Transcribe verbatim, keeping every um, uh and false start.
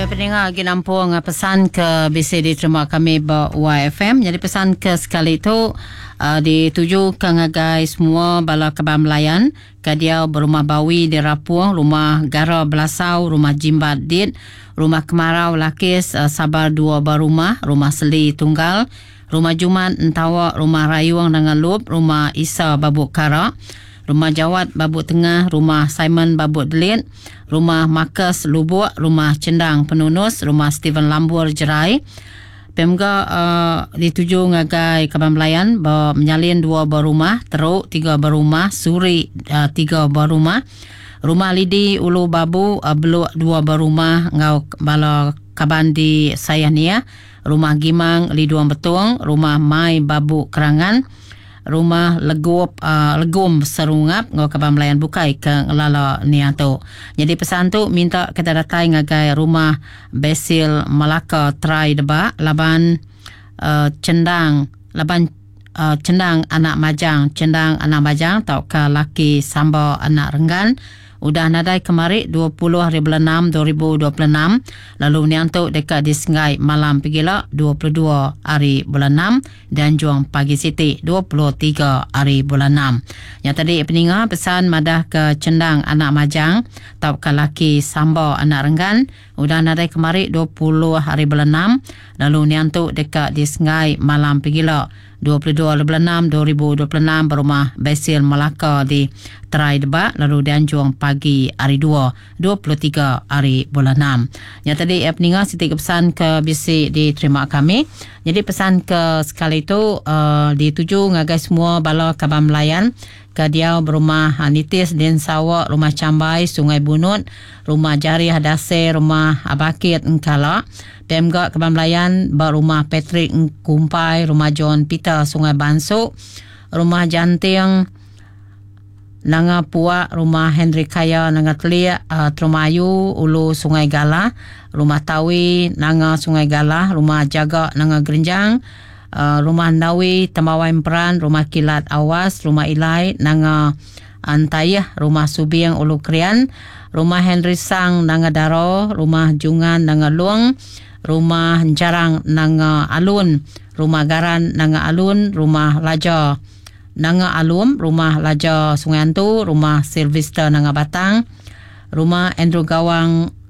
Pendengar lagi nampung pesan ke bisi diterima kami ba Y F M. Jadi pesan ke sekali tu uh, dituju ke ngagai semua bala kaban belayan ke dia berumah Bawi di Rapung, Rumah Gara Belasau, Rumah Jimbat Dit, Rumah Kemarau Lakis, uh, Sabar Dua Berumah, Rumah Seli Tunggal, Rumah Jumat Entawa, Rumah Rayuang dengan Lup, Rumah Isa Babuk Kara, Rumah Jawat Babuk Tengah, Rumah Simon Babuk Delit, Rumah Marcus Lubuk, Rumah Cendang Penunus, Rumah Stephen Lambur Jerai. P M G uh, dituju ngagai kaban belayan ba menyalin dua berumah, Teruk tiga berumah, Suri uh, tiga berumah, Rumah Lidi Ulu Babu, uh, Beluk dua berumah ngau bala kaban di Sayah Nia, Rumah Gimang Liduang Betung, Rumah Mai Babu Kerangan, Rumah Legup uh, Legum Serungap ngau kaban belayan bukai ke ngelala nia tu. Jadi pesan tu minta kita datai ngagai Rumah Basil Malaka Trai Debak laban uh, Cendang laban uh, Cendang anak Majang, Cendang anak Majang tau ke laki Samba anak Renggan udah nadai kemari dua puluh hari bulan enam dua ribu dua puluh enam, lalu niang tu dekat di Sengai malam pegila dua puluh dua hari bulan enam dan juang pagi siti dua puluh tiga hari bulan enam. Yang tadi peninga pesan madah ke Cendang anak Majang tau ke laki Samba anak Renggan udah nadai kemari dua puluh hari bulan enam, lalu niang tu dekat di Sengai malam pegila dua puluh dua bulan enam dua ribu dua puluh enam berumah Basil Melaka di Terai Debak, lalu dianjung pagi hari dua dua puluh tiga hari bulan enam. Yang tadi eh, peninga siti pesan ke bisi diterima kami. Jadi pesan ke sekali itu uh, dituju ngagai semua bala kaban belayan ke dia berumah Nitis Din Sawak, Rumah Cambai, Sungai Bunut, Rumah Jari Hadase, Rumah Abakit Engkala. P M G kaban belayan berumah Patrick Kumpai, Rumah John Peter Sungai Bansuk, Rumah Janting Nanga Puak, Rumah Henry Kaya Nanga Teliak, uh, Trumayu, Ulu Sungai Galah, Rumah Tawi, Nanga Sungai Galah, Rumah Jaga Nanga Gerenjang, uh, Rumah Nawi, Temawai Emperan, Rumah Kilat Awas, Rumah Ilai, Nanga Antayah, Rumah Subiang Ulu Krian, Rumah Henry Sang Nanga Daro, Rumah Jungan Nanga Luang, Rumah Jarang Nanga Alun, Rumah Garan Nanga Alun, Rumah Laja Nanga Alum, Rumah Laja Sungai Antu, Rumah Sylvester Nanga Batang, Rumah Andrew Gawang.